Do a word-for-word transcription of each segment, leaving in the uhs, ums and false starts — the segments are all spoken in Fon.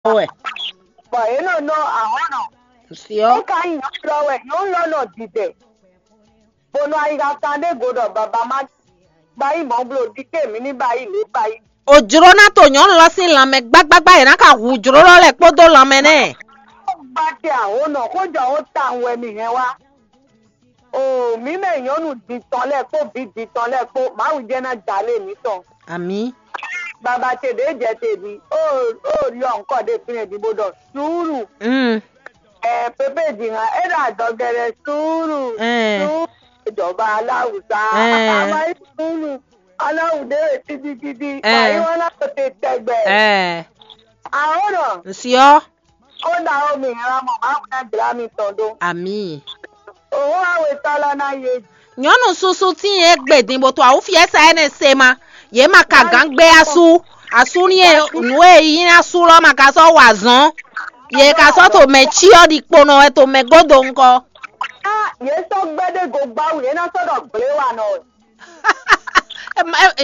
wɛ. Bɔ yě nɔ nɔ ahɔ̌ nɔ. Siɔ. É ka nyí nyɔ̌nu lɔ wɛ, nyɔ̌nu lɔ nɔ didɛ. Bó nɔ ayixa kan ɖé go ɖɔ baba má ba yí mɔ̌ bló ɖi ké mǐ ní ba yí lě ba yí. O jló ná to nyɔ̌nu lɔ sín lanmɛ gbágbágbá, yě ná ka hu jló lɔ lɛ́ kpódó lanmɛ nɛ́. Gbá te ahǒ nɔ xó jɔ ó tawun wɛ mi hɛn wá. O mǐ mɛ nyɔ̌nu din tɔn lɛ́ɛ kpó vǐ din tɔn lɛ́ɛ kpó, Mawu jɛ́n ná jalé mǐtɔn. Amǐ. Baba ce ɖě jɛ te ɖi, ó ó yɔ ŋkɔ ɖé fínɛ́ din bó ɖɔ suúlu. Mm. Ɛ pépé din hã, é ɖo adɔgɛɖɛ suúlu. Ɛɛ. Suúlu. Ìjọba aláwùsá. Ɛɛ. Àmọ́ suúlu. Aláwùdé rẹ̀ títítítí. Ɛɛ. Wàyí wọn náà tó te tẹgbẹ́. Ɛɛ. Àwọn náà. Nsíọ́. Ó dá omi ìran mọ̀, máa ń fẹ́ gbìlá mi tán dó. Àmì. Òun àwẹ̀ tọ́lọ́ náà yé. Nyɔnu susu tín e gbe din bó to awúfiɛ́sa énɛ́ se ma. Yě ma ka gǎn gbé asú. Asú ní e nǔ e yí ná sú lɔ ma ka sɔ́ wa zɔn. Yě ka sɔ́ to mɛ cyɔ ɖi kponɔ wɛ to mɛ godo ŋkɔ. Á, yě sɔ́ gbɛ́ ɖé go gbáwú, yě ná sɔ́ ɖɔ gbléwanɔ wɛ.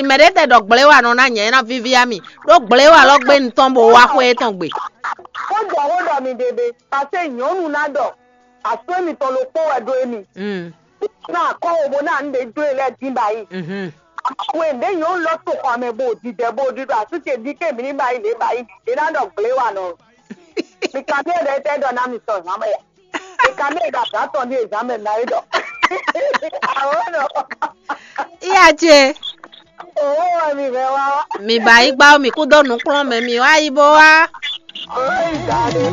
Mɛ ɖé tɛ ɖɔ gbléwanɔ ná nyɛ ná víví ami. Ɖó gbléwa lɔ gbé ŋutɔn bó wá xwé tɔn gbe. Xó jɔ xó ɖɔ mi ɖe ɖe, paseke nyɔ̌nu ná ɖɔ asú mitɔn ɖokpó wɛ ɖó émi. Mm. Ná akɔ́ wo bó ná nu ɖé jó e lɛ́ɛ dín ba yi. Mhm. We ɖě nyɔ̌nu lɔ to xɔ mɛ bo didɛ bo ɖiɖɔ asú ce ɖi ké mi ní ba yi lě ba yi. È ná ɖɔ gbléwanɔ. Mi kan mi ɖe tɛ ɖɔ ná mi sɔ zǎn mɛ ya. Mi kan mi ɖo azǎn tɔn ɖi zǎn mɛ ná yi ɖɔ. Awɔ nɔ. Iya ce. Owó wɛ mi hɛn wá. Mi ba yi gbá mi kú dó nukplɔ́n mɛ mi wá yi bó wá. Owó yi da ɖe.